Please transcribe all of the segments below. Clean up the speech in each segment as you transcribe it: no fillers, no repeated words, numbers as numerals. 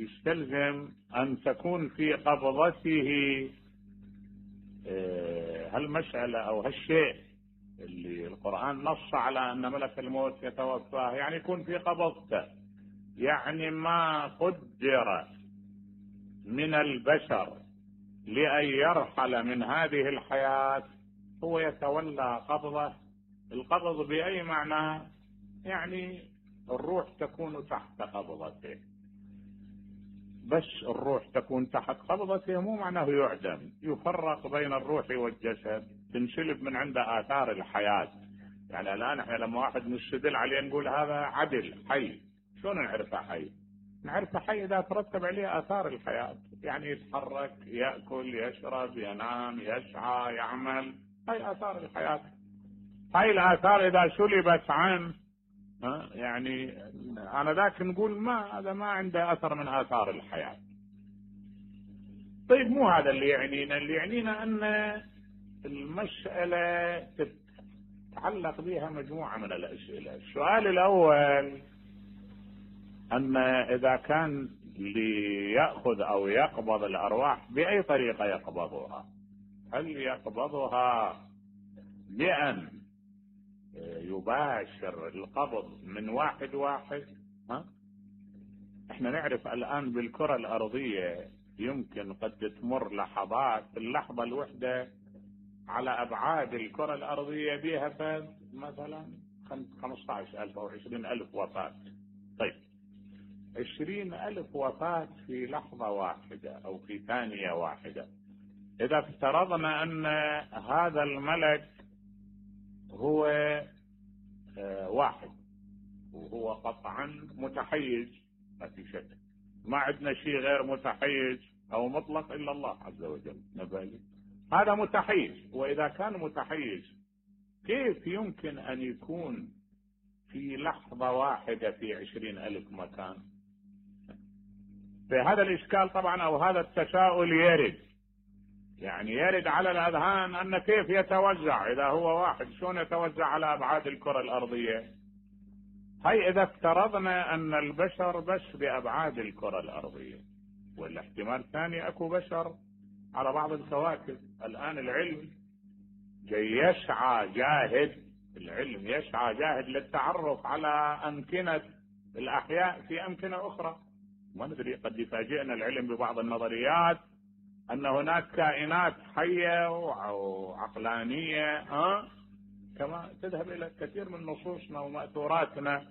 يستلزم أن تكون في قبضته هالمسألة أو هالشيء اللي القرآن نص على أن ملك الموت يتوفاه، يعني يكون في قبضته، يعني ما قدر من البشر لأن يرحل من هذه الحياة هو يتولى قبضه. القبض بأي معنى؟ يعني الروح تكون تحت قبضته، بس الروح تكون تحت قبضته مو معناه يعدم. يفرق بين الروح والجسد، تنسلب من عنده آثار الحياة. يعني الآن احنا لما واحد نستدل عليه نقول هذا عدل حي، شلون نعرفه حي؟ نعرفه حي إذا ترتب عليه آثار الحياة، يعني يتحرك، يأكل، يشرب، ينام، يسعى، يعمل، هاي آثار الحياة. هاي الآثار إذا سلبت عنه يعني أنا ذاك نقول ما هذا ما عنده أثر من آثار الحياة. طيب مو هذا اللي يعنينا، اللي يعنينا أن المسألة تتعلق بها مجموعة من الأسئلة. السؤال الأول أن إذا كان ليأخذ أو يقبض الأرواح بأي طريقة يقبضها؟ هل يقبضها بأن يباشر القبض من واحد واحد؟ احنا نعرف الآن بالكرة الأرضية يمكن قد تمر لحظات، اللحظة الوحدة على أبعاد الكرة الأرضية بها مثلا 15,000 أو 20,000 وفاة. طيب 20,000 وفاة في لحظة واحدة أو في ثانية واحدة. إذا افترضنا أن هذا الملك هو واحد وهو قطعا متحيز، ما في شك، ما عندنا شيء غير متحيز أو مطلق إلا الله عز وجل نبالي، هذا متحيز. وإذا كان متحيز كيف يمكن أن يكون في لحظة واحدة في 20,000 مكان؟ فهذا الإشكال طبعا أو هذا التساؤل يرد، يعني يرد على الأذهان أن كيف يتوزع إذا هو واحد، شلون يتوزع على أبعاد الكرة الأرضية؟ هاي إذا افترضنا أن البشر بس بأبعاد الكرة الأرضية، والاحتمال الثاني أكو بشر على بعض الكواكب. الآن العلم جاي يسعى جاهد، العلم يسعى جاهد للتعرف على أمكنة الأحياء في أمكنة أخرى. ما ندري، قد يفاجئنا العلم ببعض النظريات أن هناك كائنات حية وعقلانية كما تذهب إلى كثير من نصوصنا ومأثوراتنا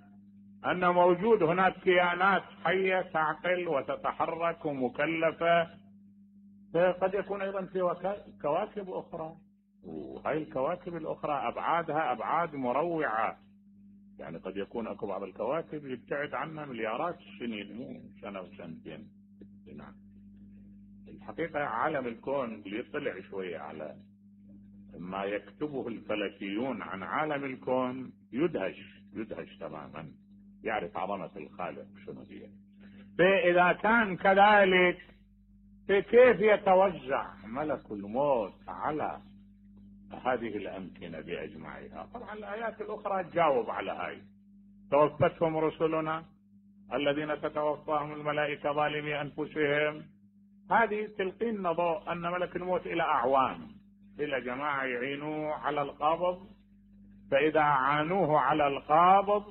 أن موجود هناك كائنات حية تعقل وتتحرك ومكلفة. فقد يكون أيضا في كواكب أخرى، وهي الكواكب الأخرى أبعادها أبعاد مروعة. يعني قد يكون أكو بعض الكواكب يبتعد عنا مليارات السنين، مو سنة وسنتين. نعم، الحقيقة عالم الكون اللي يطلع شوية على ما يكتبه الفلكيون عن عالم الكون يدهش تماما، يعرف عظمة الخالق شنو هي. فإذا كان كذلك فكيف يتوزع ملك الموت على هذه الأمكنة بأجمعها؟ طبعا الآيات الأخرى تجاوب على هاي. توفتهم رسلنا الذين تتوفاهم الملائكة ظالمي أنفسهم، هذه تلقينا ضوء أن ملك الموت إلى أعوان، إلى جماعة يعينوه على القبض. فإذا عانوه على القابض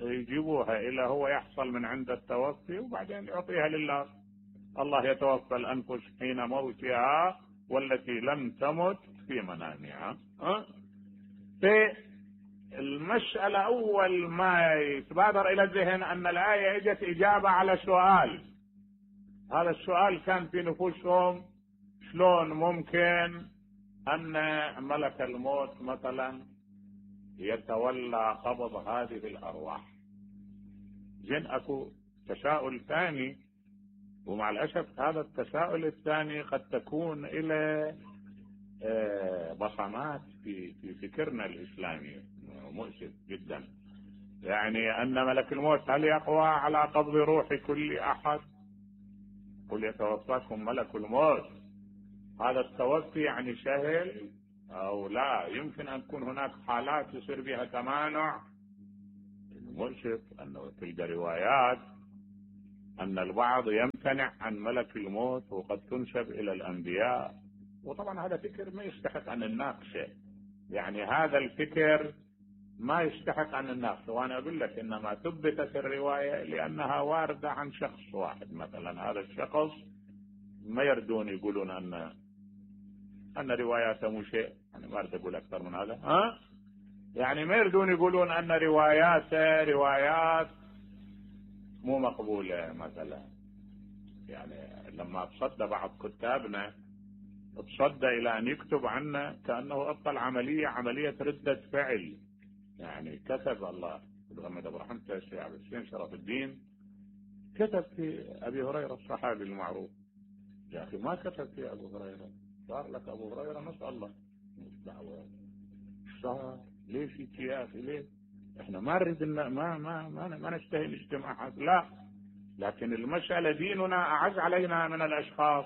يجيبوها إلى هو يحصل من عند التوفي، وبعدين يعطيها لله. الله يتوفى الأنفس حين موتها والتي لم تمت في منامها. في المسألة أول ما يتبادر إلى الذهن أن الآية اجت إجابة على سؤال. هذا السؤال كان في نفوسهم، شلون ممكن أن ملك الموت مثلا يتولى قبض هذه الأرواح؟ زين أكو تساؤل ثاني، ومع الأسف هذا التساؤل الثاني قد تكون إلى بصمات في فكرنا الإسلامي مؤسف جدا. يعني أن ملك الموت هل يقوى على قبض روح كل أحد؟ قل يتوفاكم ملك الموت، هذا التوفي يعني سهل أو لا؟ يمكن أن تكون هناك حالات يصير بها تمانع. المؤسف أنه تلقى روايات أن البعض يمتنع عن ملك الموت وقد تنسب إلى الأنبياء، وطبعا هذا فكر ما يستحق أن نناقشه. يعني هذا الفكر ما يستحق أن نناقشه. وأنا أقول لك إنما ثبتت الرواية لأنها واردة عن شخص واحد. مثلا هذا الشخص ما يردون يقولون أن رواياته مو شيء، يعني ما أريد أقول أكثر من هذا، يعني ما يردون يقولون أن رواياته روايات مو مقبولة مثلا. يعني لما تصدى بعض كتابنا تصدى إلى أن يكتب عنه كأنه أبطل عملية ردة فعل. يعني كتب الله محمد أبو رحمة الشيخ عبد الحسين شرف الدين كتب في أبي هريرة الصحابي المعروف. يا أخي ما كتب في أبو هريرة، صار لك أبو هريرة نسأل الله دعوة صار ليش يا أخي ليه؟ إحنا ما نريد ما نشتهي الاجتماعات، لا، لكن المسألة ديننا أعز علينا من الأشخاص.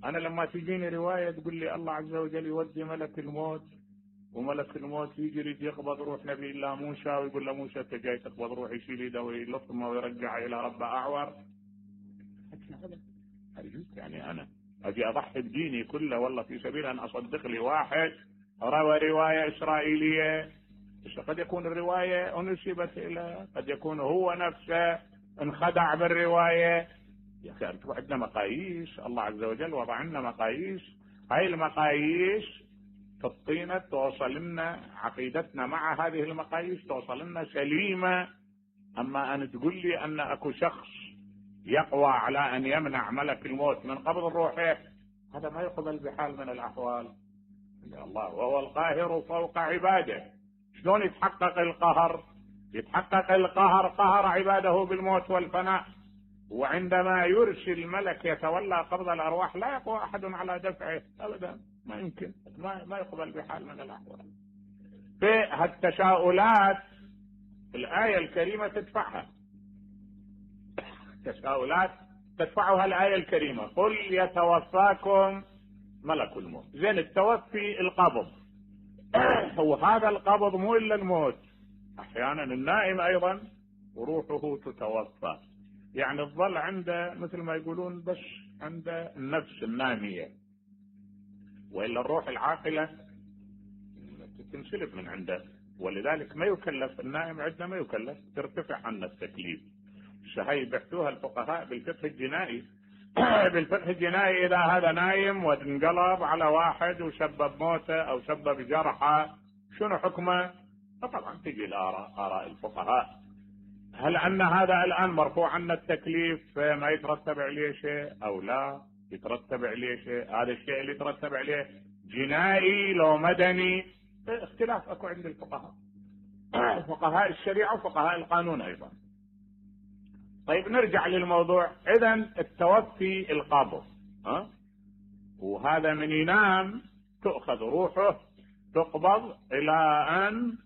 أنا لما تجيني رواية تقول لي الله عز وجل يودي ملك الموت، وملك الموت يجري يقبض روح نبي الله موسى ويقول له موسى انت جاي تقبض روح، يشيل يده ويلطمه ويرجع الى ربه اعور. يعني انا اجي اضحي بديني كله والله في سبيل ان اصدق لي واحد روى روايه اسرائيليه، بس قد يكون الروايه انسبت الى، قد يكون هو نفسه انخدع بالروايه. يا اخي انتم عندنا مقاييس، الله عز وجل وضع لنا مقاييس، هاي المقاييس تطينا توصل لنا عقيدتنا مع هذه المقاييس توصل لنا سليمة. أما أن تقول لي أن أكو شخص يقوى على أن يمنع ملك الموت من قبض الروح، هذا ما يقبل بحال من الأحوال. يا الله وهو القاهر فوق عباده. شلون يتحقق القهر؟ يتحقق القهر قهر عباده بالموت والفناء، وعندما يرسل الملك يتولى قبض الأرواح لا يقوى أحد على دفعه أبدا، ما يمكن، ما يقبل بحال من الأحوال. في هالتساؤلات الآية الكريمة تدفعها، تساؤلات تدفعها الآية الكريمة، قل يتوفاكم ملك الموت. زين التوفي القبض، وهذا القبض مو إلا الموت، أحيانا النائم أيضا وروحه تتوفى، يعني الظل عنده مثل ما يقولون بس عنده النفس النامية، وإلا الروح العاقلة تنسلب من عنده. ولذلك ما يكلف النائم، عندنا ما يكلف، ترتفع عنه التكليف. هي بحثوها الفقهاء بالفقه الجنائي. بالفقه الجنائي إذا هذا نايم وانقلب على واحد وسبب موته أو سبب جرحه شنو حكمه؟ طبعا تجي آراء الفقهاء. هل أن هذا الآن مرفوع عنا التكليف ما يترتب عليه شيء أو لا يترتب عليه شيء؟ هذا الشيء اللي يترتب عليه جنائي لو مدني اختلاف أكو عند الفقهاء، فقهاء الشريعة وفقهاء القانون أيضا. طيب نرجع للموضوع. إذن التوفي القبض، وهذا من ينام تؤخذ روحه تقبض إلى أن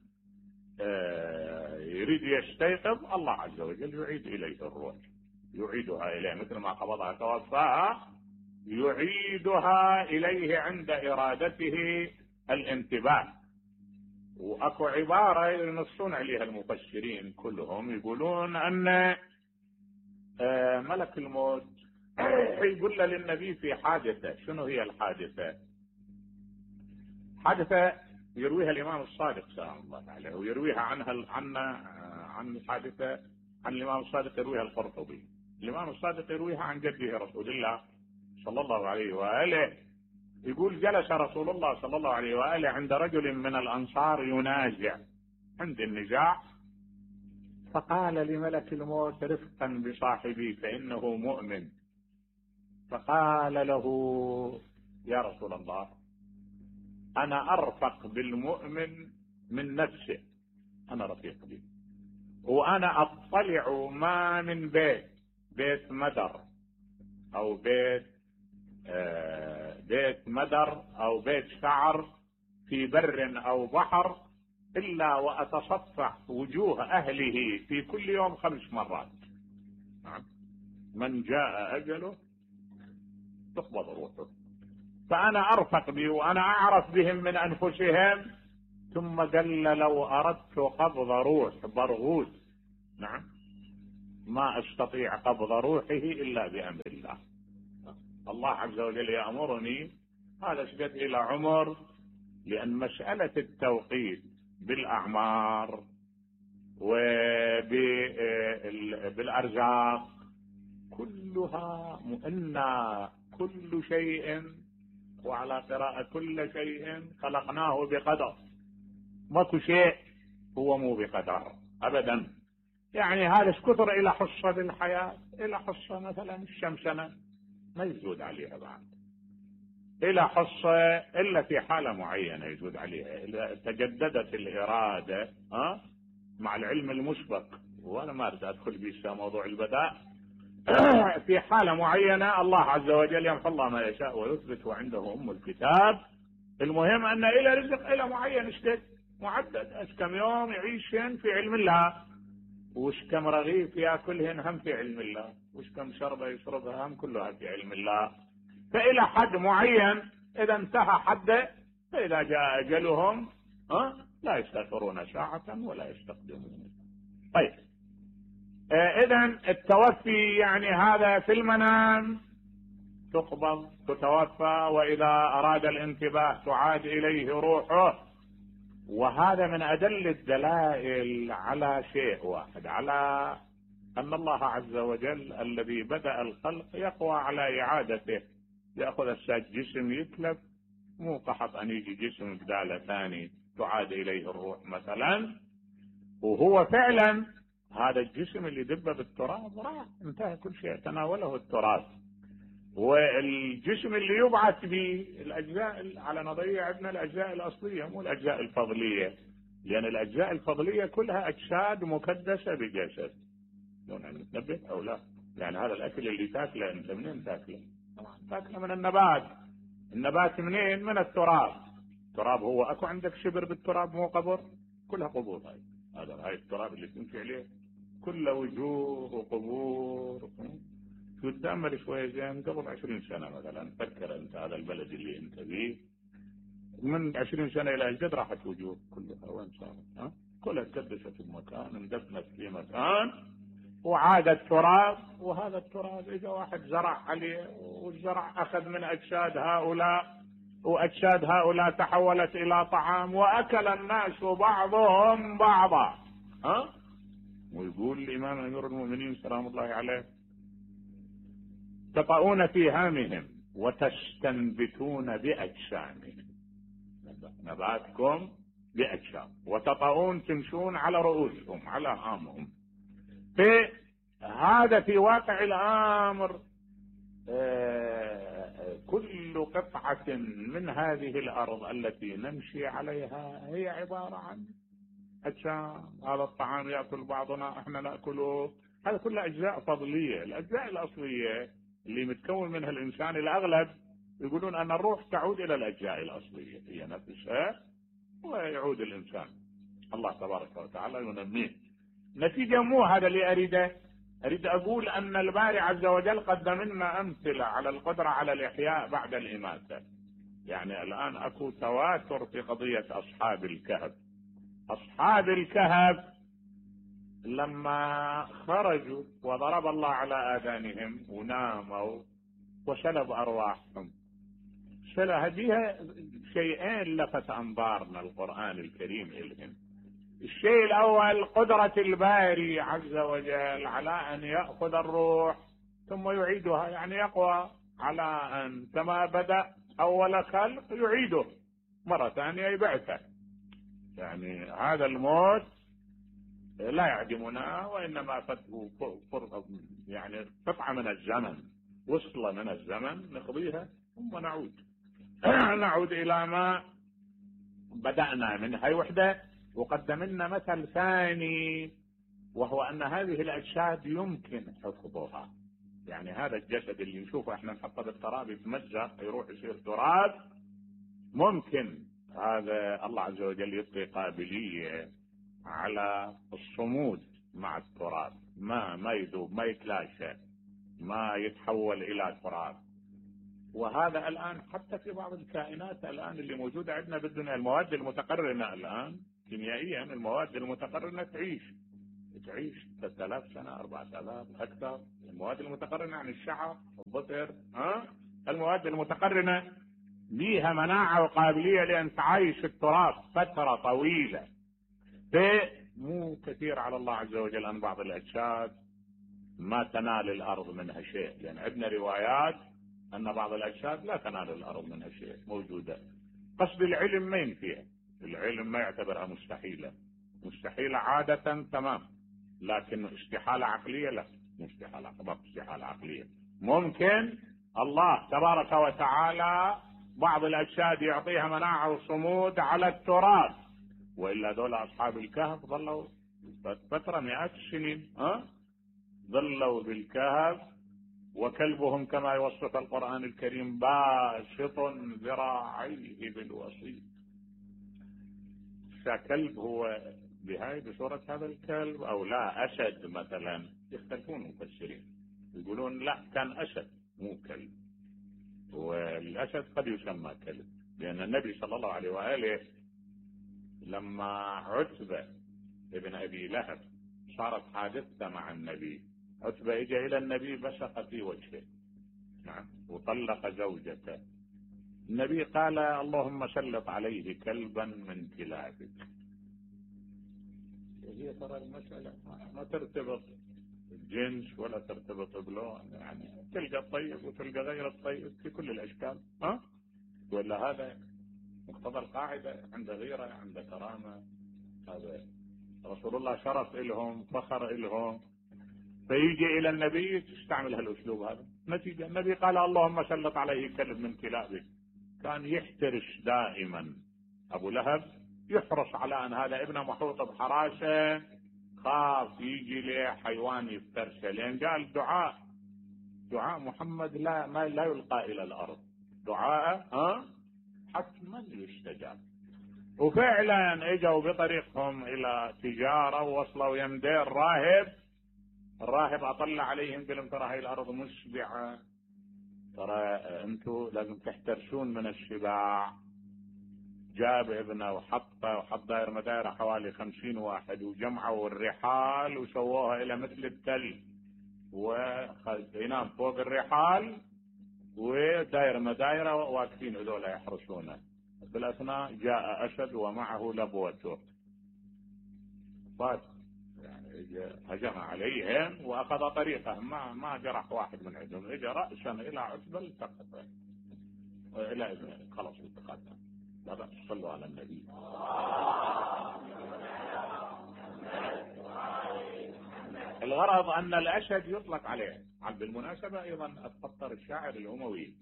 يريد يستيقظ، الله عز وجل يعيد إليه الروح، يعيدها إليه مثل ما قبضها توفاها، يعيدها إليه عند إرادته الانتباه. وأكو عبارة ينصون عليها المفسرين كلهم، يقولون أن ملك الموت يقول للنبي في حادثة. شنو هي الحادثة؟ حادثة يرويها الإمام الصادق سلام الله عليه، ويرويها عن الحادثة عن الإمام الصادق يرويها القرطبي. الإمام الصادق يرويها عن جده رسول الله صلى الله عليه وآله، يقول جلس رسول الله صلى الله عليه وآله عند رجل من الأنصار ينازع، عند النزاع، فقال لملك الموت رفقا بصاحبي فإنه مؤمن، فقال له يا رسول الله أنا أرفق بالمؤمن من نفسه، أنا رفيق به، وأنا أطلع ما من بيت مدر أو بيت مدر أو بيت شعر في بر أو بحر إلا وأتصفح وجوه أهله في كل يوم 5 مرات. من جاء أجله تقبض روحه، فأنا أرفق به وأنا أعرف بهم من أنفسهم. ثم قال لو أردت قبض روح برغوث، نعم، ما استطيع قبض روحه الا بامر الله. الله عز وجل يأمرني هذا اشقد الى عمر، لان مسألة التوقيت بالاعمار وبالارزاق كلها مؤنة، كل شيء، وعلى قراءة كل شيء خلقناه بقدر. ماكو شيء هو مو بقدر ابدا. يعني هذا كثر الى حصة بالحياة، الى حصة مثلا الشمسنة ما يزود عليها بعد، الى حصة الا في حالة معينة يزود عليها اذا تجددت الارادة مع العلم المسبق. وانا ما اريد ادخل في موضوع البداء. في حالة معينة الله عز وجل يمحو الله ما يشاء ويثبت وعنده ام الكتاب. المهم ان الى رزق الى معين اشتد معدد، ايش كم يوم يعيشهن في علم الله، وش كم رغيف ياكلهن هم في علم الله، وش كم شربة يشربها هم كلها في علم الله. فإلى حد معين إذا انتهى حده، فإذا جاء أجلهم لا يستأخرون ساعة ولا يستقدمون. طيب إذا التوفي يعني هذا في المنام تقبض تتوفى، وإذا أراد الانتباه تعاد إليه روحه. وهذا من أدل الدلائل على شيء واحد، على أن الله عز وجل الذي بدأ الخلق يقوى على إعادته. يأخذ الساج جسم يتلف، مو قحط أن يجي جسم بداله ثاني تعاد إليه الروح مثلا. وهو فعلا هذا الجسم اللي دب بالتراب راح انتهى كل شيء، تناوله التراب. والجسم اللي يبعث به الأجزاء على نظرية عندنا الأجزاء الأصلية مو الأجزاء الفضلية، لأن الأجزاء الفضلية كلها أجساد مكدسة بجسد. لون نتنبه أو لا؟ يعني هذا الأكل اللي تاكله أنت منين تاكله؟ تاكله من النبات. النبات منين؟ من التراب. التراب هو أكو عندك شبر بالتراب مو قبر؟ كلها قبور. هاي التراب اللي تمشي عليه كله وجوه وقبور. تتأمل شوية زين قبل 20 سنة مثلا، فكر أنت هذا البلد اللي أنت فيه من 20 سنة إلى الجد راحت وجوه كلها وين صارت؟ كلها تكدست المكان، اندفنت في مكان وعادت تراب. وهذا التراب إذا واحد زرع عليه والزرع أخذ من أجساد هؤلاء، وأجساد هؤلاء تحولت إلى طعام وأكل الناس بعضهم بعضا. ويقول الإمام أمير المؤمنين سلام الله عليه: تطؤون في هامهم وتستنبتون بأجسامهم. نباتكم بأجسام، وتطؤون تمشون على رؤوسهم على هامهم. هذا في واقع الأمر كل قطعة من هذه الأرض التي نمشي عليها هي عبارة عن أجسام. هذا الطعام يأكل بعضنا احنا نأكله، هذا كله أجزاء فضلية. الأجزاء الأصلية اللي متكون منها الإنسان الأغلب يقولون أن الروح تعود إلى الأجزاء الأصلية هي نفسها، ويعود الإنسان الله تبارك وتعالى ينميه. نتيجة مو هذا اللي أريد أقول أن الباري عز وجل قدم لنا أمثلة على القدرة على الإحياء بعد الإماتة. يعني الآن أكو تواتر في قضية أصحاب الكهف. أصحاب الكهف لما خرجوا وضرب الله على آذانهم وناموا وسلب أرواحهم، هذه شيئين لفت أنظارنا القرآن الكريم إلهم. الشيء الأول قدرة الباري عز وجل على أن يأخذ الروح ثم يعيدها، يعني يقوى على أن كما بدأ أول خلق يعيده مرة ثانية يبعثه. يعني هذا الموت لا يعدمنا، وإنما يعني قطعة من الزمن، وصلة من الزمن نقضيها ثم نعود إلى ما بدأنا من هاي وحدة. وقدم لنا مثل ثاني، وهو أن هذه الأجساد يمكن حفظها. يعني هذا الجسد اللي نشوفه احنا نحطه بالتراب يتمزق يروح يصير تراب، ممكن هذا الله عز وجل يعطي قابلية على الصمود مع التراب، ما يذوب، ما يتلاشى، ما يتحول إلى تراب. وهذا الآن حتى في بعض الكائنات الآن اللي موجودة عندنا بالدنيا، المواد المتقرنة الآن كيميائيا، المواد المتقرنة تعيش 3000 سنة 4000 أكثر. المواد المتقرنة عن الشعر الظفر المواد المتقرنة بها مناعة وقابلية لأن تعيش التراب فترة طويلة. مو كثير على الله عز وجل أن بعض الأجساد ما تنال الأرض منها شيء، لأن عندنا روايات أن بعض الأجساد لا تنال الأرض منها شيء موجودة. قصد العلم ما ينفيها، العلم ما يعتبرها مستحيلة، مستحيلة عادة تمام، لكن استحالة عقلية لا، مو استحالة عقلية. ممكن الله تبارك وتعالى بعض الأجساد يعطيها مناعة وصمود على التراب، وإلا دول أصحاب الكهف ظلوا فترة مئات السنين ظلوا بالكهف، وكلبهم كما يوصف القرآن الكريم باسط ذراعيه بالوصيد. كلب هو بهاي بصورة هذا الكلب أو لا أسد مثلا، يختلفون المفسرين، يقولون لا كان أسد مو كلب، والأسد قد يسمى كلب، لأن النبي صلى الله عليه وآله لما عتبة ابن أبي لهب صارت حادثة مع النبي، عتبة اجى إلى النبي بصق في وجهه وطلق زوجته، النبي قال اللهم سلط عليه كلبا من كلابك. هي ترى المسألة ما ترتبط جنس ولا ترتبط بلون، يعني تلقى الطيب وتلقى غير الطيب في كل الأشكال ولا هذا مقتضى القاعدة، عند غيرة عند كرامة، هذا رسول الله شرف إلهم فخر إلهم، فيجي إلى النبي تستعمل هالأسلوب هذا. نتيجة النبي قال اللهم سلط عليه كلب من كلابك. كان يحترس دائما أبو لهب، يحرص على أن هذا ابنه محوط بحراسة، خاف يجي له حيوان يفترسه، لأن قال دعاء محمد لا يلقى إلى الأرض، دعاء حتما يستجاب. وفعلا اجوا بطريقهم إلى تجارة ووصلوا يمدير الراهب أطلع عليهم قال ترى هاي الأرض مشبعة، ترى أنتوا لازم تحترسون من الشباع. جاب ابنه وحط دائر مدايره حوالي 50 واحد، وجمعوا الرحال وسووها إلى مثل التل، وينام فوق الرحال ودائر مدايره واقفين هذول يحرسونه. بالأثناء جاء أسد ومعه لبوته، هجم عليهم واخذ طريقه، ما جرح واحد من عندهم، اجى راسا الى عتبه التقطه الى ابنه، خلاص التقطه. لا بأس، صلوا على النبي. الغرض ان الاسد يطلق عليه. بالمناسبه ايضا الخطر الشاعر الاموي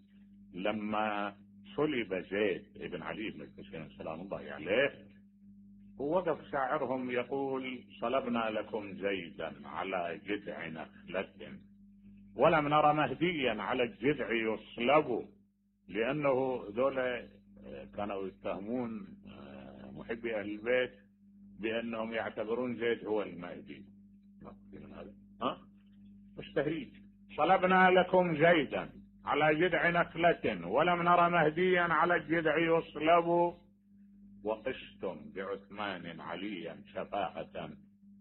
لما صلب زيد بن علي بن الحسين سلام الله عليه، ووقف شاعرهم يقول صلبنا لكم زيدا على جذع نخلة ولم نرى مهديا على الجذع يصلب، لأنه ذولا كانوا يتهمون محبي أهل البيت بأنهم يعتبرون زيد هو المهدي. مش تهريج. صلبنا لكم زيدا على جذع نخلة ولم نرى مهديا على الجذع يصلب، وقشتم بعثمان عليا شفاعة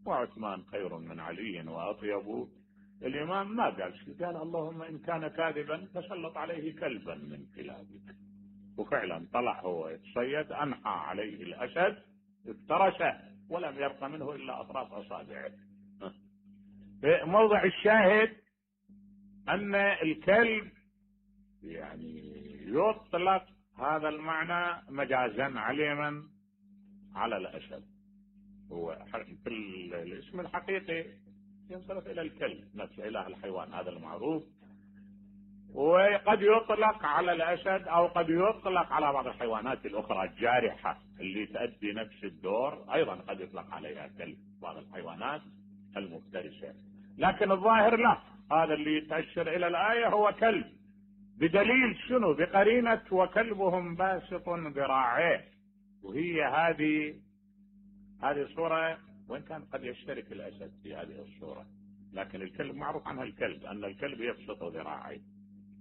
وعثمان خير من علي وأطيب. الإمام ما قال شيء، قال اللهم إن كان كاذبا فسلط عليه كلبا من كلابك. وفعلا طلع هو يتصيد، أنحى عليه الأسد افترسه ولم يبق منه إلا أطراف أصابعه. موضع الشاهد أن الكلب يعني يطلق هذا المعنى مجازا عليما على الأسد، هو في الاسم الحقيقي ينصرف إلى الكلب نفس إله الحيوان هذا المعروف، وقد يطلق على الأسد أو قد يطلق على بعض الحيوانات الأخرى الجارحة اللي تؤدي نفس الدور، أيضا قد يطلق عليها كلب بعض الحيوانات المفترسة، لكن الظاهر لا، هذا اللي يتأشر إلى الآية هو كلب، بدليل شنو؟ بقرينة وكلبهم باسط ذراعيه. وهي هذه الصورة، وإن كان قد يشترك الأسد في هذه الصورة، لكن الكلب معروف عنها الكلب أن الكلب يبسط ذراعيه،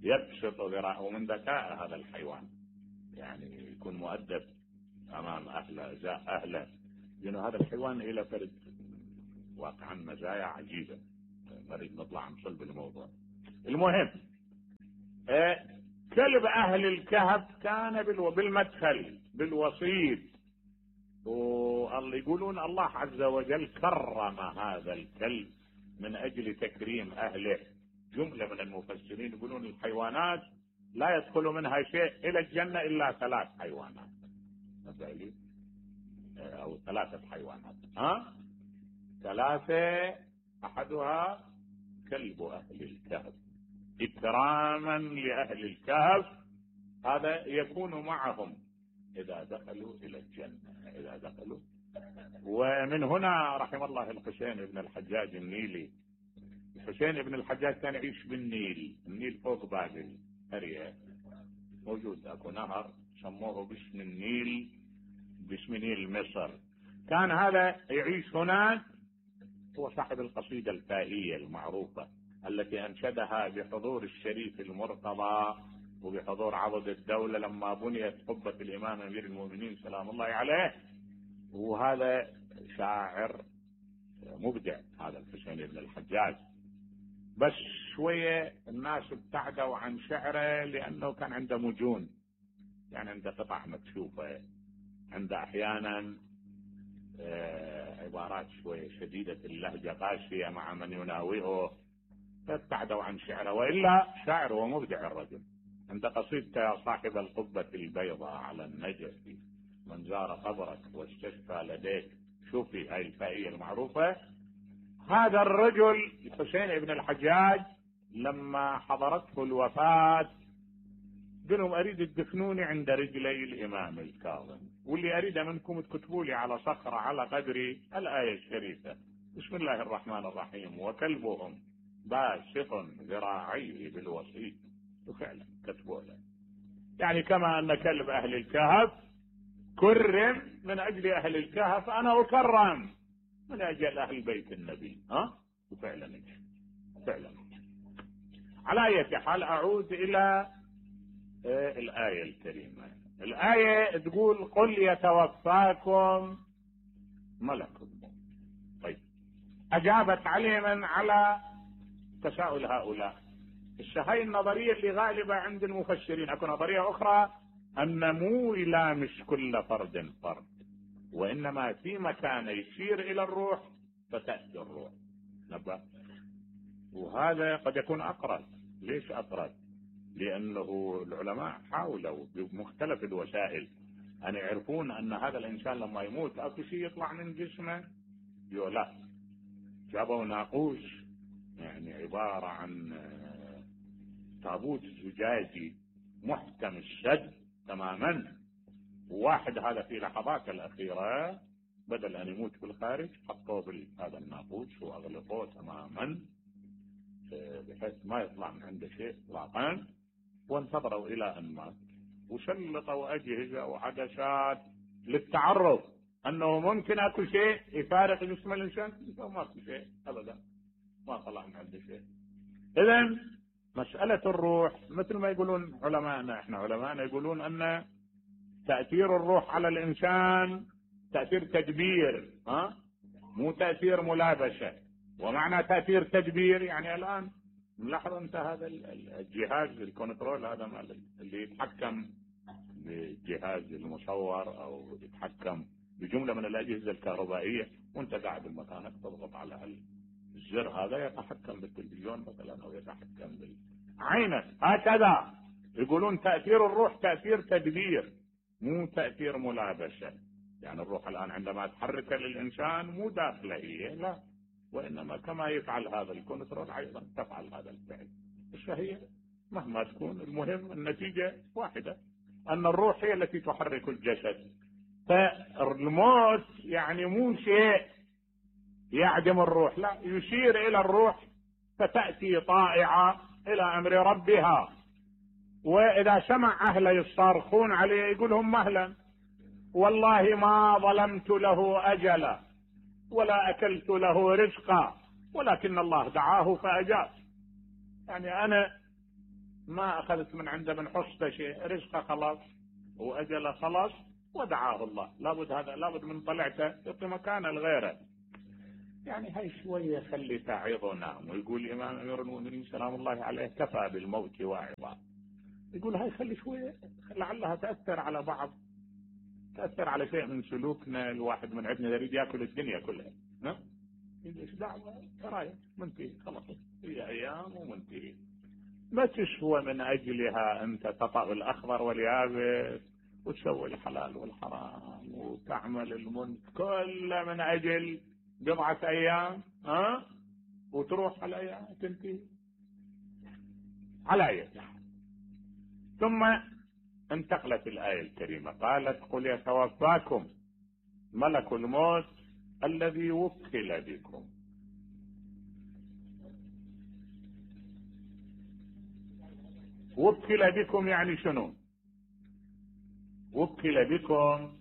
يبسط ذراعه، ومن ذكاء هذا الحيوان يعني يكون مؤدب أمام أهله، أهله، لأن هذا الحيوان إلى فرد واقعا مزايا عجيبة، نريد نطلع عن صلب الموضوع. المهم كلب أهل الكهف كان بالمدخل بالوسيط، واللي يقولون الله عز وجل كرم هذا الكلب من أجل تكريم أهله. جملة من المفسرين يقولون الحيوانات لا يدخل منها شيء إلى الجنة إلا 3 حيوانات أو 3 حيوانات 3 أحدها كلب أهل الكهف إكراما لأهل الكهف، هذا يكون معهم إذا دخلوا إلى الجنة إذا دخلوا. ومن هنا رحم الله الحسين بن الحجاج النيلي. الحسين بن الحجاج كان يعيش بالنيل، النيل فوق بابل قرية موجود اكو نهر سموه باسم النيل، باسم نيل مصر. كان هذا يعيش هناك، هو صاحب القصيدة الفائية المعروفة التي أنشدها بحضور الشريف المرتضى وبحضور عضد الدولة لما بنيت قبة الإمام أمير المؤمنين سلام الله عليه. وهذا شاعر مبدع هذا الحسين بن الحجاج، بس شوية الناس ابتعدوا عن شعره لأنه كان عنده مجون، يعني عنده قطع مكشوفة، عنده أحيانا عبارات شوية شديدة اللهجة قاسية مع من يناوئه، فابتعدوا عن شعره. وإلا شاعر ومبدع الرجل. عند قصيدته يا صاحب القبة البيضاء على النجف من زار قبرك واستشفى لديك، شوفي هاي الفائية المعروفة. هذا الرجل الحسين بن الحجاج لما حضرته الوفاة قالوا أريد تدفنوني عند رجلي الإمام الكاظم، واللي أريد منكم تكتبوا لي على صخرة على قدري الآية الشريفة بسم الله الرحمن الرحيم وكلبهم باسط ذراعيه بالوسيط. وفعلا كتبوا له، يعني كما أن كلب أهل الكهف كرم من أجل أهل الكهف، أنا أكرم من أجل أهل بيت النبي. وفعلا فعلا. على أي حال أعود إلى الآية الكريمة. الآية تقول قل يتوفاكم ملك الموت. طيب أجابت عليما على تساؤل هؤلاء. هاي النظرية اللي غالبة عند المفسرين. أكو نظرية أخرى أن مو يلامس كل فرد فرد، وإنما في مكان يشير إلى الروح فتأتي الروح. وهذا قد يكون أقرب. ليش أقرب؟ لأنه العلماء حاولوا بمختلف الوسائل أن يعرفون أن هذا الإنسان لما يموت أكو شيء يطلع من جسمه. لا، جابوا ناقوس، يعني عبارة عن تابوت زجاجي محكم الشد تماما، وواحد هذا في لحظات الأخيرة بدل أن يموت بالخارج حطوه بهذا الناقوس وأغلقوه تماما بحيث ما يطلع من عنده شيء اطلاقا، وانتظروا الى ان مات، وسلطوا اجهزه وعدسات للتعرف انه ممكن اكو شيء يفارق جسم الانسان، ما في شيء ابدا، ما طلع من عنده شيء. اذا مساله الروح مثل ما يقولون علماءنا، احنا علماءنا يقولون ان تاثير الروح على الانسان تاثير تدبير، مو تاثير ملابسه. ومعنى تأثير تدبير يعني الآن نلاحظ أنت هذا الجهاز الكنترول هذا اللي يتحكم بالجهاز المصور أو يتحكم بجملة من الأجهزة الكهربائية، وأنت قاعد بمكانك تضغط على الزر هذا يتحكم بالتلفزيون مثلا أو يتحكم بعينك. هكذا يقولون تأثير الروح تأثير تدبير مو تأثير ملابسة. يعني الروح الآن عندما تحرك للإنسان مو داخله هي، لا، وإنما كما يفعل هذا الكنترول أيضا تفعل هذا الفعل. فهي مهما تكون المهم النتيجة واحدة، أن الروح هي التي تحرك الجسد. فالموت يعني مو شيء يعدم الروح، لا، يشير إلى الروح فتأتي طائعة إلى أمر ربها. وإذا سمع أهله يصارخون عليه يقولهم مهلا والله ما ظلمت له أجلا ولا أكلت له رزقا ولكن الله دعاه فأجاب. يعني أنا ما أخذت من عنده من حصته شيء، رزقه خلاص وأجله خلاص ودعاه الله. لابد هذا، لابد من طلعته يعطي مكانه لغيره. يعني هاي شوية خلي تعظ ونام. ويقول الإمام أمير المؤمنين سلام الله عليه كفى بالموت واعظا. يقول هاي خلي شوية لعلها تأثر على بعض، تأثر على شيء من سلوكنا. الواحد من عندنا يريد ياكل الدنيا كلها، ها؟ ايش دعوة، ترايا منتهي خلاص، هي أيام ومنتهي. ما تشوى من أجلها أنت تطأ الأخضر واليابس وتسوي الحلال والحرام وتعمل المنكر كله من أجل بضعة أيام، ها؟ وتروح على أيام تنتهي على أي. ثم انتقلت الآية الكريمة قالت قل يتوفاكم ملك الموت الذي وكل بكم. وكل بكم يعني شنو؟ وكل بكم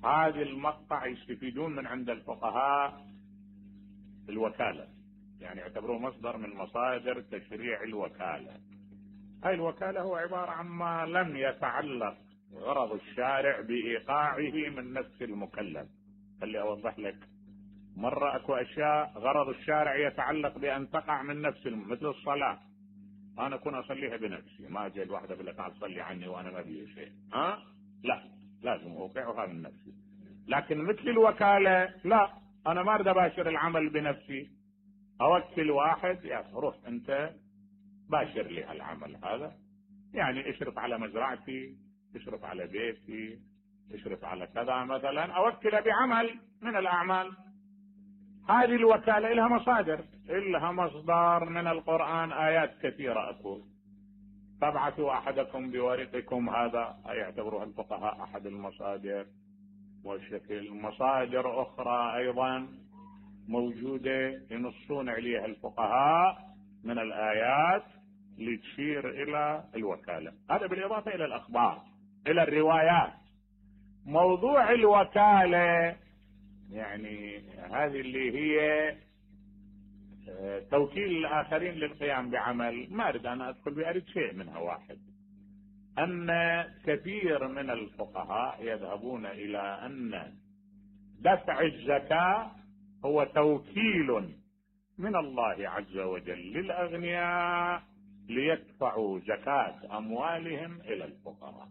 هذه المقطع يستفيدون من عند الفقهاء الوكالة، يعني يعتبروه مصدر من مصادر تشريع الوكالة. هاي الوكالة هو عبارة عن ما لم يتعلق غرض الشارع بإيقاعه من نفس المكلف. خلي أوضح لك، مرة أكو أشياء غرض الشارع يتعلق بأن تقع من نفس مثل الصلاة، أنا أكون أصليها بنفسي، ما أجي الواحدة أقول لك تعال صلي عني وأنا ما بي شيء، لا، لازم أوقعها من نفسي. لكن مثل الوكالة لا، أنا ما أريد أباشر العمل بنفسي، أوكل واحد يا روح أنت باشر لي العمل هذا، يعني اشرف على مزرعتي، اشرف على بيتي، اشرف على كذا مثلا، أوكل بعمل من الأعمال. هذه الوكالة لها مصادر، لها مصدر من القرآن آيات كثيرة أقول فابعثوا أحدكم بورقكم، هذا يعتبرها الفقهاء أحد المصادر. وشكل مصادر أخرى أيضا موجودة ينصون عليها الفقهاء من الآيات لتشير إلى الوكالة. هذا بالإضافة إلى الأخبار إلى الروايات. موضوع الوكالة يعني هذه اللي هي توكيل الآخرين للقيام بعمل، ما أريد أنا أدخل بأريد شيء منها. واحد، أن كثير من الفقهاء يذهبون إلى أن دفع الزكاة هو توكيل من الله عز وجل للأغنياء ليدفعوا زكاة أموالهم إلى الفقراء.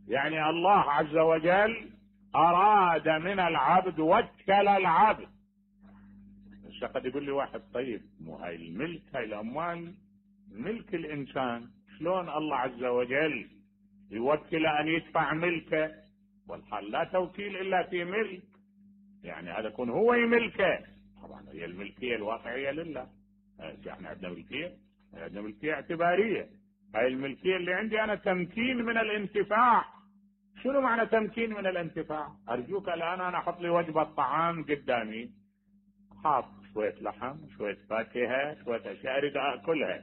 يعني الله عز وجل أراد من العبد، وكل العبد. قد يقول لي واحد طيب مو هاي الملك، هاي الأموال ملك الإنسان، شلون الله عز وجل يوكل أن يدفع ملكه؟ والحال لا توكيل إلا في ملك، يعني هذا يكون هو يملكه. طبعا هي الملكية الواقعية لله، احنا عندنا ملكية، عندنا ملكية اعتبارية. هاي الملكية اللي عندي أنا تمكين من الانتفاع. شنو معنى تمكين من الانتفاع؟ أرجوك الآن أنا أحط لي وجبة طعام قدامي، حاط شوية لحم، شوية فاكهة، شوية أشياء أريد أكلها.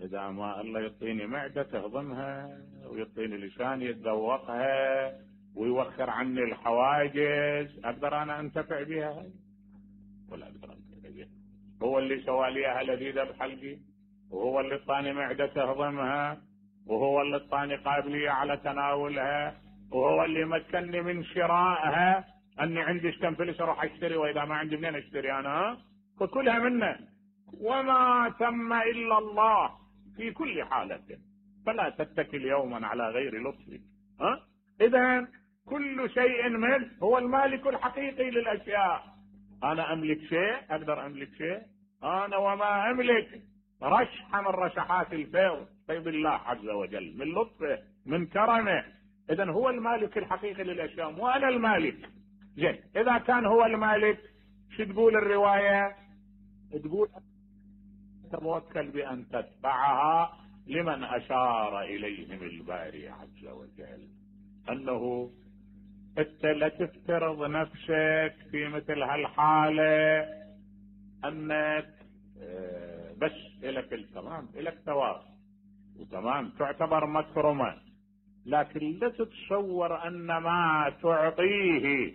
إذا ما الله يعطيني معدة تهضمها، ويعطيني لسان يتذوقها، ويوخر عني الحواجز، أقدر أنا أنتفع بها؟ ولا أقدر أنتفع بها. هو اللي سوى لي أهل لذيذة بحلقي، وهو اللي اعطاني معدة تهضمها، وهو اللي اعطاني قابلية على تناولها، وهو اللي مكنني من شرائها، أني عندي كم فلوس أروح أشتري، وإذا ما عندي منين أشتري أنا؟ فكلها منه، وما ثم إلا الله في كل حالة، فلا تتكل يوما على غير لطفه. إذا كل شيء منه، هو المالك الحقيقي للأشياء. أنا أملك شيء؟ أقدر أملك شيء؟ أنا وما أملك رشحة من رشحات الفيض طيب الله عز وجل من لطفه من كرمه. إذا هو المالك الحقيقي للأشياء وأنا المالك. زين، إذا كان هو المالك شو تقول الرواية؟ تقول توكل بأن تتبعها لمن أشار إليهم الباري عز وجل، أنه أنت لا تفترض نفسك في مثل هالحالة أنك بس إلك التمام، إلك ثواب وتمام تعتبر مكرمة، لكن لا تتصور أن ما تعطيه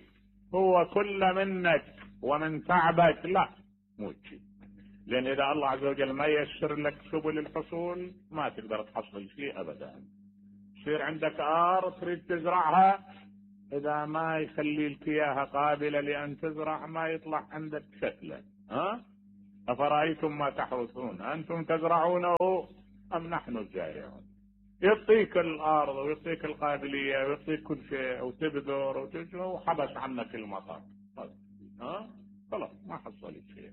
هو كل منك ومن تعبك، لا، مو شيء. لأن إذا الله عز وجل ما ييسر لك سبل الحصول ما تقدر تحصل شيء أبدا. يصير عندك أرض تريد تزرعها، اذا ما يخلي لك اياها قابلة لان تزرع ما يطلع عندك شكلا. افرأيتم ما تحرثون انتم تزرعونه ام نحن الزارعون؟ يعطيك الارض ويعطيك القابلية ويعطيك كل شيء وتبذر وحبس عنك المطر. خلاص ما حصلت شيء.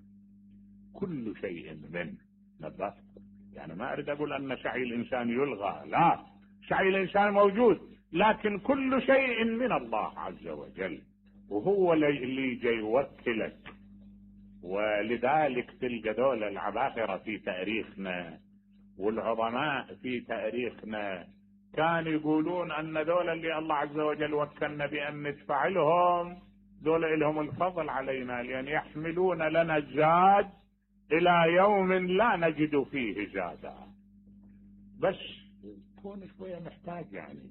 كل شيء من نبات. يعني ما اريد اقول ان سعي الانسان يلغى، لا، سعي الانسان موجود، لكن كل شيء من الله عز وجل، وهو اللي جاي يوكلك. ولذلك تلقى دول العباقرة في تاريخنا والعظماء في تاريخنا كانوا يقولون ان دول اللي الله عز وجل وكلنا بان ندفع لهم، دول لهم الفضل علينا، لان يحملون لنا الزاد الى يوم لا نجد فيه زادا. بس كون شوية محتاج، يعني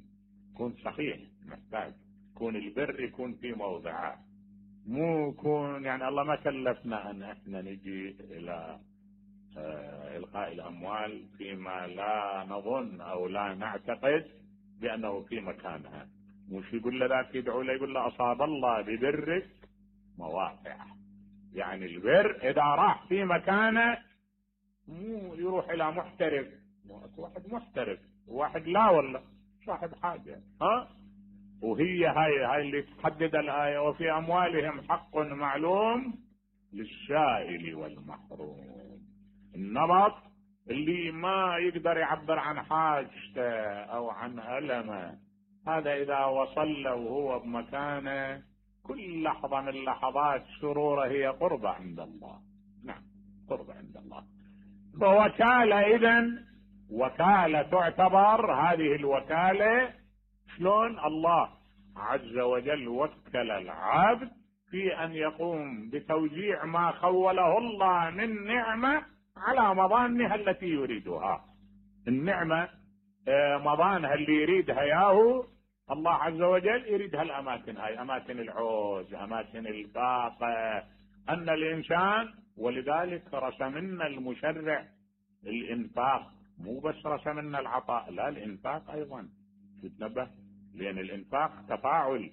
كون صحيح محتاج، كون البر يكون في موضعه، مو كون يعني الله ما كلفنا ان احنا نجي الى القاء الاموال فيما لا نظن او لا نعتقد بانه في مكانها. مش يقول له ذاك يدعو له يقول له اصاب الله ببرك مواقع. يعني البر اذا راح في مكانه مو يروح الى محترف، واحد محترف وواحد لا والله صاحب حاجه. وهي هاي اللي تحدد الايه، وفي اموالهم حق معلوم للسائل والمحروم. النبط اللي ما يقدر يعبر عن حاجته او عن ألمه، هذا اذا وصل له وهو بمكانه كل لحظة من لحظات سروره هي قربة عند الله. نعم قربة عند الله. فوكالة اذن وكالة تعتبر هذه الوكالة شلون الله عز وجل وكل العبد في ان يقوم بتوزيع ما خوله الله من نعمة على مظانها التي يريدها. النعمة مظانها اللي يريدها ياهو الله عز وجل، يريدها الاماكن هاي، اماكن العوز، اماكن الطاقة، ان الانسان. ولذلك رسمنا المشرع الانفاق، مو بس رسمنا العطاء، لا الانفاق ايضا تتنبه، لان الانفاق تفاعل،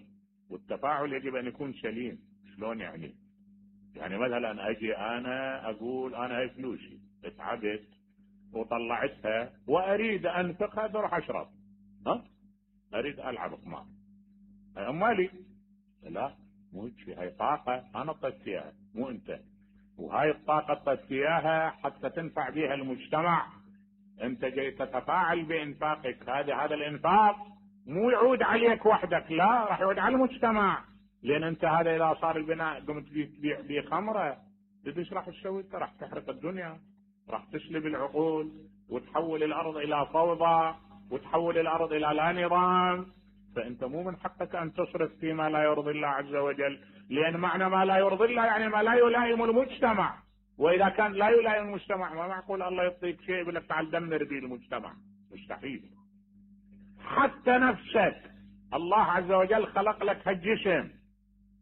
والتفاعل يجب ان يكون سليم. شلون يعني؟ يعني مثلا اجي انا اقول انا هاي فلوسي اتعبت وطلعتها واريد انفقها بروح اشرب، اريد العب قمار، هاي امالي. لا مو هيك، هاي طاقة انا طيت فيها مو انت، وهاي الطاقة طيت فيها حتى تنفع بها المجتمع. انت جاي تتفاعل بانفاقك، هذا الانفاق مو يعود عليك وحدك، لا راح يعود على المجتمع. لان انت هذا اذا صار البناء قمت تبيع بيه خمره، ايش راح تسوي؟ انت راح تحرق الدنيا، راح تسلب العقول وتحول الارض الى فوضى وتحول الارض الى لا نظام. فانت مو من حقك ان تصرف فيما لا يرضي الله عز وجل، لان معنى ما لا يرضي الله يعني ما لا يلائم المجتمع. واذا كان لا يلائم المجتمع ما معقول الله يعطيك شيء يقول لك تعال دمر به المجتمع، مستحيل. حتى نفسك الله عز وجل خلق لك هالجسم،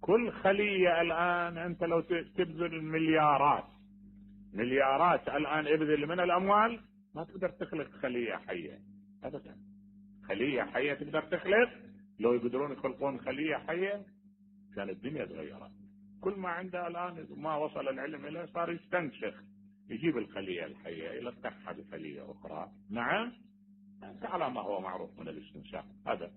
كل خلية الآن أنت لو تبذل مليارات الآن ابذل من الأموال ما تقدر تخلق خلية حية أبدا. خلية حية تقدر تخلق؟ لو يقدرون يخلقون خلية حية كان الدنيا تغيرت. كل ما عنده الآن ما وصل العلم إليه صار يستنسخ، يجيب الخلية الحية يلقحها بخلية أخرى. نعم على ما هو معروف من الاستنساخ، هذا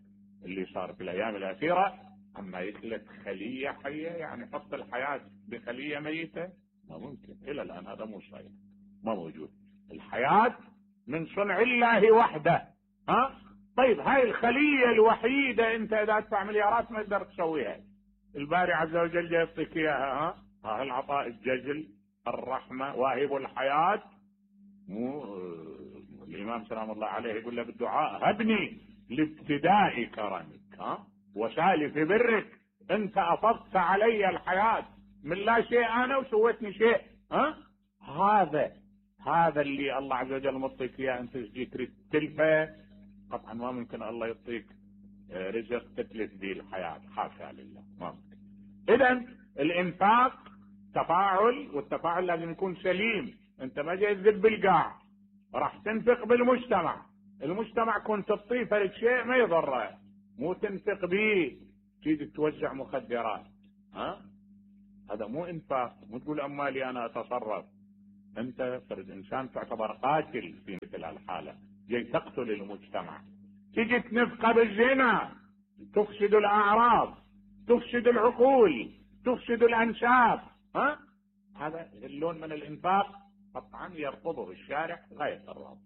اللي صار في الأيام الأخيرة. أما يخلق خلية حية يعني حط الحياة بخلية ميتة ما ممكن، إلى الآن هذا مو صحيح، ما موجود. الحياة من صنع الله وحده. طيب هاي الخلية الوحيدة انت اذا تدفع مليارات ما تقدر تسويها. الباري عز وجل يعطيك اياها. ها العطاء الجزل، الرحمة، واهب الحياة. مو الامام سلام الله عليه يقول له بالدعاء هبني لابتداء كرمك وسالف برك، انت افضت علي الحياة من لا شيء انا وسويتني شيء. هذا اللي الله عز وجل مطيك اياه، انت تريد تلفه قطعا ما ممكن الله يعطيك رزق تتلف به الحياة، حاشا لله ما ممكن. اذا الانفاق تفاعل، والتفاعل لازم يكون سليم. انت ما جاي تذب بالقاع، راح تنفق بالمجتمع. المجتمع كنت تعطيه فرق شيء ما يضره، مو تنفق به تيجي توزع مخدرات. هذا مو انفاق. مو تقول امالي انا اتصرف. انت فرد انسان تعتبر قاتل في مثل الحالة، جاي تقتل المجتمع. تيجي تنفقه بالزنا، تفسد الاعراض، تفسد العقول، تفسد الانساب. هذا اللون من الانفاق قطعا يرفضه الشارع غاية الرفض.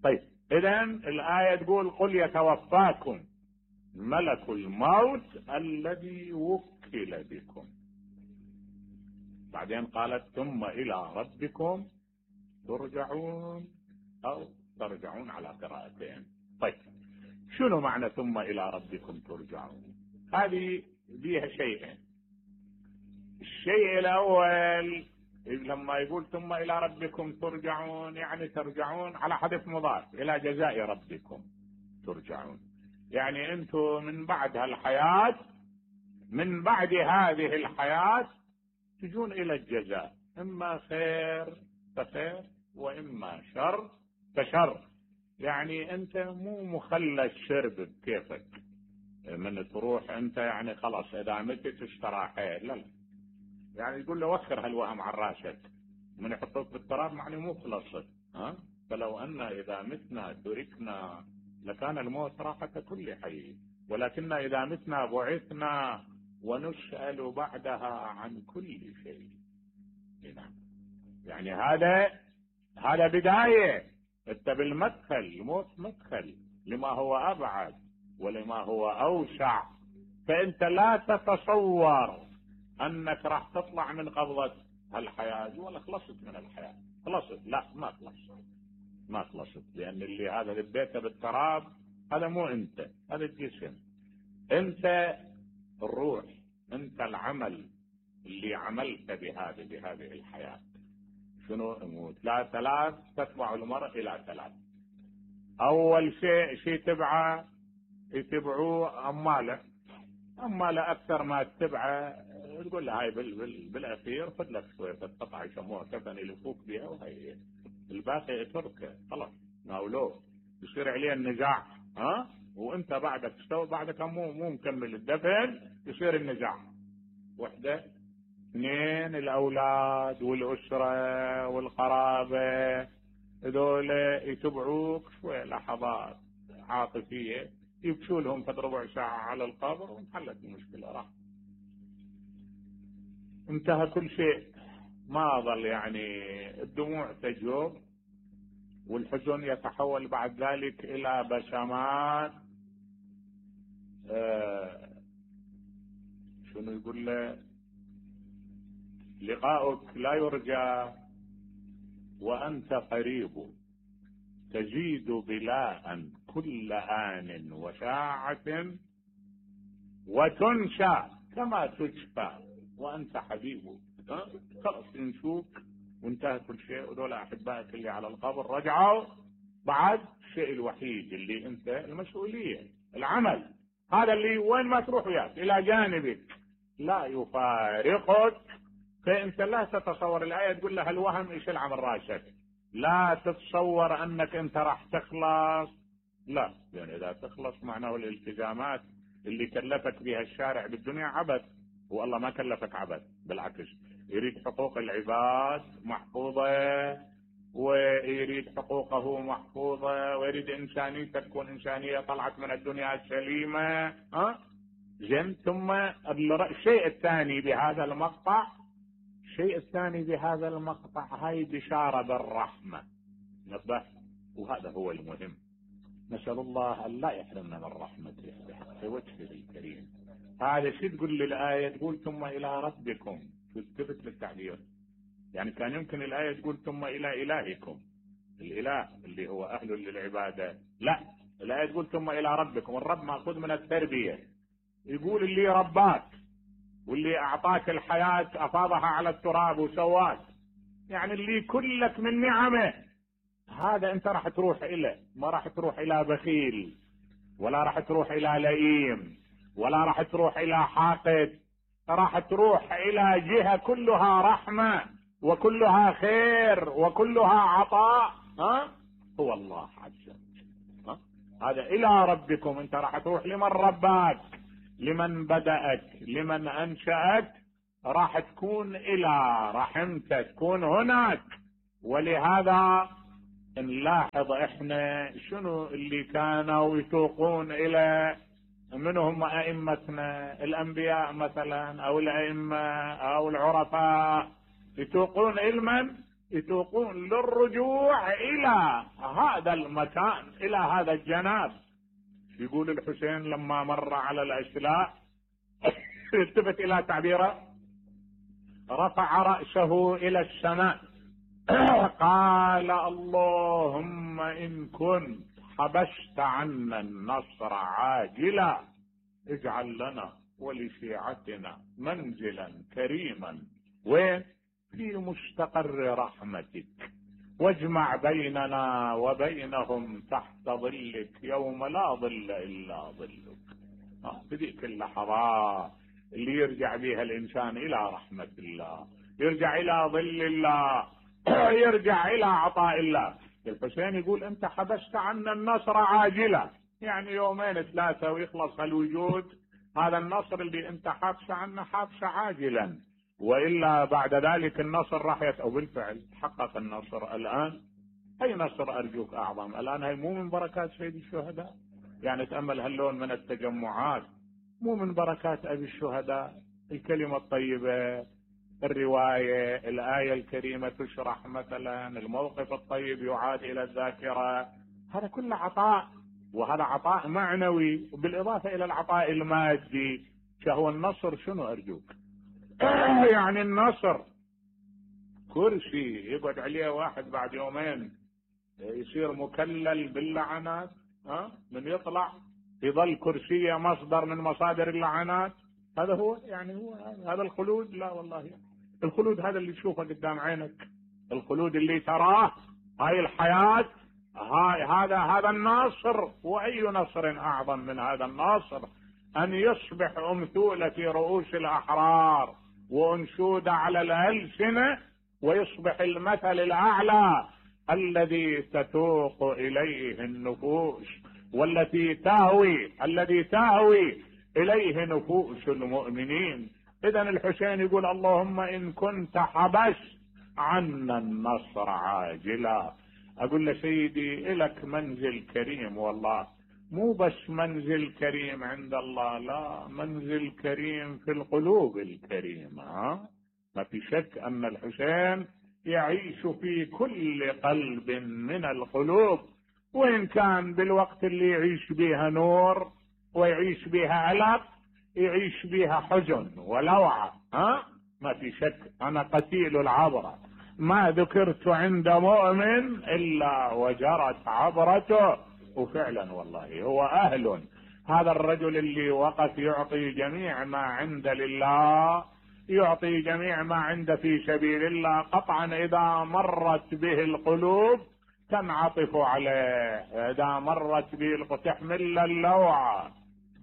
طيب اذا الآية تقول قل يتوفاكم ملك الموت الذي وكل بكم. بعدين قالت ثم الى ربكم ترجعون، او ترجعون على قراءتين. طيب شنو معنى ثم الى ربكم ترجعون؟ هذه فيها شيئين. الشيء الاول لما يقول ثم الى ربكم ترجعون، يعني ترجعون على حذف مضاف الى جزاء ربكم ترجعون. يعني انتم من بعد هالحياة، من بعد هذه الحياة تجون الى الجزاء، اما خير فخير واما شر فشر. يعني انت مو مخلى الشرب بكيفك، من تروح انت يعني خلاص اذا متت استراحيت. لا، يعني يقول له وخر هالوهم عن راسك، من يحطوك بالتراب يعني مو خلصت. فلو ان اذا متنا تركنا لكان الموت راحة كل حي، ولكن اذا متنا بعثنا ونسأل بعدها عن كل شيء. نعم. يعني هذا بداية. انت بالمدخل، الموت مدخل لما هو ابعد ولما هو اوسع. فانت لا تتصور انك راح تطلع من قبضة هالحياة ولا خلصت من الحياة. خلصت؟ لا، ما خلصت. لان اللي هذا لبيته بالتراب هذا مو انت، هذا الجسم. انت الروح، انت العمل اللي عملت بهذه الحياة. شنو الموت؟ لا، ثلاث تتبع المرء الى ثلاث. اول شيء يتبعوه اماله اكثر ما تتبعه تقول له هاي بالاخير خذ لك شويه قطعه يسموها كفن يلفوك بها، وهي الباقي يتركه خلاص ناولوه. يصير عليه النزاع. وانت بعدك مو مكمل الدفن، يصير النزاع. وحده، اثنين، الاولاد والاسره والقرابه، هذول يتبعوك شويه لحظات عاطفيه، يبكوا لهم فد ربع ساعه على القبر وانحلت المشكله، راح انتهى كل شيء. ما ظل يعني الدموع تجوب والحزن يتحول بعد ذلك الى بسمات. شنو يقول له؟ لقاؤك لا يرجى وانت قريب، تزيد بلاء كل آن وساعة، وتنسى كما تشفى وانت حبيب. خلص ينسوك وانتهى كل شيء. ودول احبائك اللي على القبر رجعوا. بعد الشيء الوحيد اللي انت المسؤولية، العمل، هذا اللي وين ما تروح وياك الى جانبك لا يفارقك. فانت لا تتصور. الآية تقول له الوهم يشيل عن راسك، لا تتصور انك انت راح تخلص. لا، يعني اذا تخلص معناه الالتزامات اللي كلفك بها الشارع بالدنيا عبث، والله ما كلفك عبث، بالعكس يريد حقوق العباد محفوظة، ويريد حقوقه محفوظة، ويريد انسانيتك تكون انسانية طلعت من الدنيا سليمة. زين. ثم الشيء الثاني بهذا المقطع، هاي بشارة بالرحمة. نبه، وهذا هو المهم. نسأل الله أن لا يحرمنا من رحمته بحق وجهه الكريم. هذا شو تقول للآية؟ تقول ثم إلى ربكم، تثبت للتعبير. يعني كان يمكن الآية تقول ثم إلى إلهكم، الإله اللي هو أهل للعبادة. لا، الآية تقول ثم إلى ربكم. الرب مأخوذ من التربية. يقول اللي رباك واللي أعطاك الحياة أفاضها على التراب وسواك، يعني اللي كلك من نعمه، هذا أنت راح تروح إليه. ما راح تروح إلى بخيل، ولا راح تروح إلى لئيم، ولا راح تروح إلى حاقد. راح تروح إلى جهة كلها رحمة وكلها خير وكلها عطاء. هو الله عز وجل. هذا إلى ربكم. أنت راح تروح لمن رباك، لمن بدأك، لمن أنشأك، راح تكون إلى رحمته، تكون هناك. ولهذا نلاحظ احنا شنو اللي كانوا يتوقون الى، منهم ائمتنا الانبياء مثلا او الائمه او العرفاء، يتوقون علما، يتوقون للرجوع الى هذا المكان، الى هذا الجناب. يقول الحسين لما مر على الاشلاء التفت الى تعبيره، رفع رأسه الى السماء قال اللهم إن كنت حبست عنا النصر عاجلا اجعل لنا ولشيعتنا منزلا كريما وين؟ في مستقر رحمتك، واجمع بيننا وبينهم تحت ظلك يوم لا ظل إلا ظلك. بذيك اللحظات اللي يرجع بها الإنسان إلى رحمة الله، يرجع إلى ظل الله، يرجع الى عطاء الله. الحسين يقول انت حبست عنا النصر عاجلا، يعني يومين ثلاثة ويخلص الوجود. هذا النصر اللي انت حابس عنه حابس عاجلا، وإلا بعد ذلك النصر راح وبالفعل تحقق النصر. الآن اي نصر ارجوك اعظم؟ الآن هي مو من بركات سيد الشهداء؟ يعني تأمل هاللون من التجمعات، مو من بركات ابي الشهداء؟ الكلمة الطيبة، الرواية، الآية الكريمة تشرح مثلا، الموقف الطيب يعاد إلى الذاكرة، هذا كله عطاء، وهذا عطاء معنوي، وبالإضافة إلى العطاء المادي. شهو النصر شنو أرجوك؟ يعني النصر كرسي يقعد عليه واحد بعد يومين يصير مكلل باللعنات، من يطلع يظل كرسيه مصدر من مصادر اللعنات. هذا هو يعني هو هذا الخلود؟ لا والله، الخلود هذا اللي تشوفه قدام عينك، الخلود اللي تراه، هاي الحياة، هذا الناصر. وأي نصر أعظم من هذا الناصر؟ أن يصبح أمثولة في رؤوس الأحرار وأنشودة على الألسنة، ويصبح المثل الأعلى الذي تتوق إليه النفوس، والتي الذي تهوي إليه نفوس المؤمنين. إذن الحسين يقول اللهم إن كنت حبست عنا النصر عاجلا. أقول له سيدي إلك منزل كريم، والله مو بس منزل كريم عند الله، لا، منزل كريم في القلوب الكريمة. ما في شك أن الحسين يعيش في كل قلب من القلوب، وإن كان بالوقت اللي يعيش بها نور ويعيش بها ألم، يعيش بها حزن ولوعة. ما في شك أنا قتيل العبرة، ما ذكرت عند مؤمن إلا وجرت عبرته. وفعلا والله هو أهل، هذا الرجل اللي وقف يعطي جميع ما عند لله، يعطي جميع ما عند في سبيل الله، قطعا إذا مرت به القلوب تنعطف عليه، إذا مرت به تحمل اللوعة